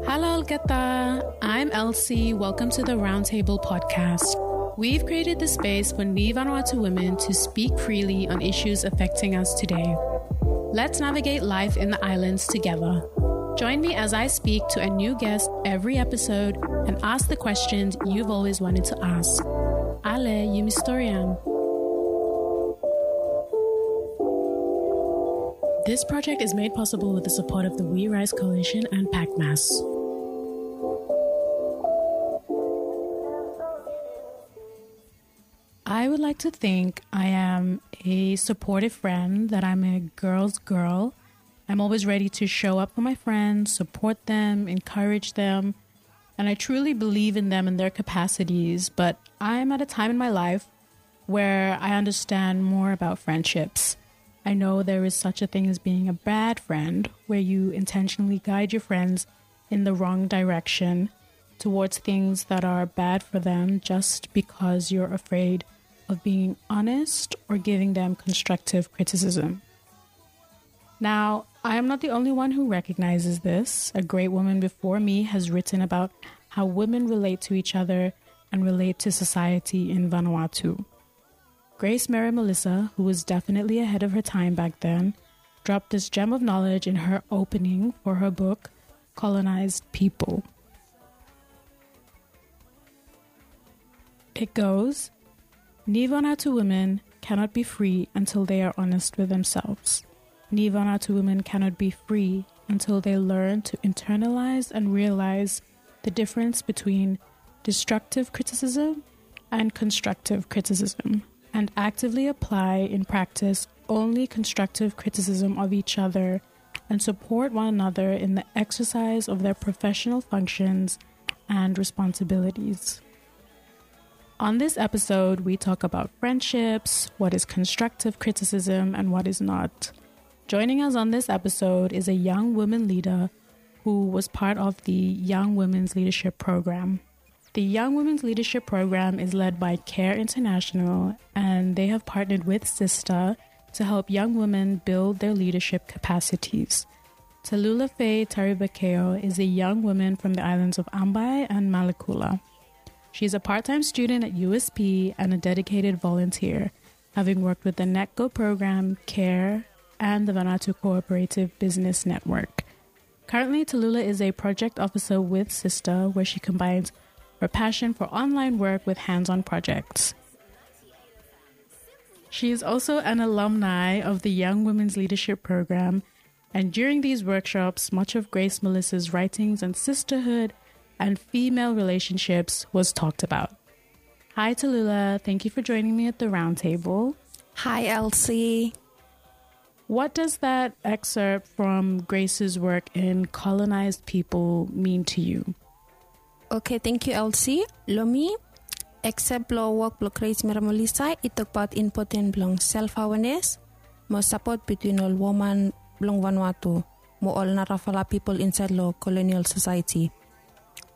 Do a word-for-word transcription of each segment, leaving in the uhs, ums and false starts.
Halo olgeta, I'm Elsie. Welcome to the Roundtable podcast. We've created the space for Ni Vanuatu women to speak freely on issues affecting us today. Let's navigate life in the islands together. Join me as I speak to a new guest every episode and ask the questions you've always wanted to ask. Ale, yumi storian. This project is made possible with the support of the We Rise Coalition and PACMAS. I would like to think I am a supportive friend, that I'm a girl's girl. I'm always ready to show up for my friends, support them, encourage them, and I truly believe in them and their capacities. But I'm at a time in my life where I understand more about friendships. I know there is such a thing as being a bad friend, where you intentionally guide your friends in the wrong direction towards things that are bad for them just because you're afraid of being honest or giving them constructive criticism. Now, I am not the only one who recognizes this. A great woman before me has written about how women relate to each other and relate to society in Vanuatu. Grace Mary Melissa, who was definitely ahead of her time back then, dropped this gem of knowledge in her opening for her book, Colonized People. It goes, Ni Vanuatu women cannot be free until they are honest with themselves. Ni Vanuatu women cannot be free until they learn to internalize and realize the difference between destructive criticism and constructive criticism, and actively apply in practice only constructive criticism of each other and support one another in the exercise of their professional functions and responsibilities. On this episode, we talk about friendships, what is constructive criticism and what is not. Joining us on this episode is a young woman leader who was part of the Young Women's Leadership Program. The Young Women's Leadership Program is led by CARE International, and they have partnered with Sista to help young women build their leadership capacities. Talula Faye Taribakeo is a young woman from the islands of Ambae and Malekula. She is a part-time student at U S P and a dedicated volunteer, having worked with the NECO program, CARE, and the Vanuatu Cooperative Business Network. Currently, Talula is a project officer with Sista, where she combines her passion for online work with hands-on projects. She is also an alumni of the Young Women's Leadership Program, and during these workshops, much of Grace Melissa's writings on sisterhood and female relationships was talked about. Hi, Talula. Thank you for joining me at the roundtable. Hi, Elsie. What does that excerpt from Grace's work in Colonized People mean to you? Okay, thank you, Elsie. Lo mi, excerpt blo wok blo Grace Mary Melissa i tokbaot impoten blong self awareness mo sapot bitwin ol woman blong Vanuatu mo ol narafala pipol insaed lo colonial society.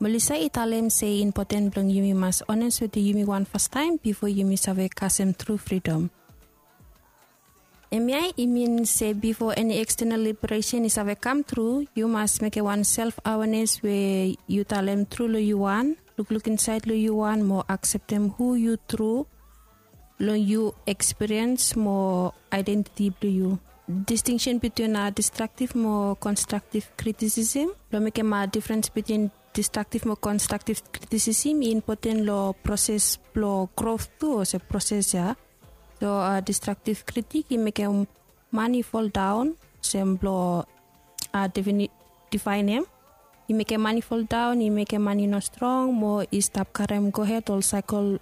Melissa i talem se impoten blong yumi mas ones wetem yumi wan fastaem bifo yumi save kasem tru fridom. Hemia i min se bifo eni ekstenal liberesen i save kam tru, yu mas mekem wan self awareness we yu talem tru lo yu wan, lukluk insaed lo yu wan mo akseptem hu yu tru lo yu ekspiriens mo aedentiti blo yu. Distinction bitwin a destructive mo constructive criticism. Lo mekem a difference bitwin destructive mo constructive criticism i impoten lo proses blo growth tu olsem proses ya. So a destructive critic i mekem man i foldaon, olsem blo a defaenem. I mekem man i foldaon, i mekem man i no strong mo i stap karem gohed ol saekel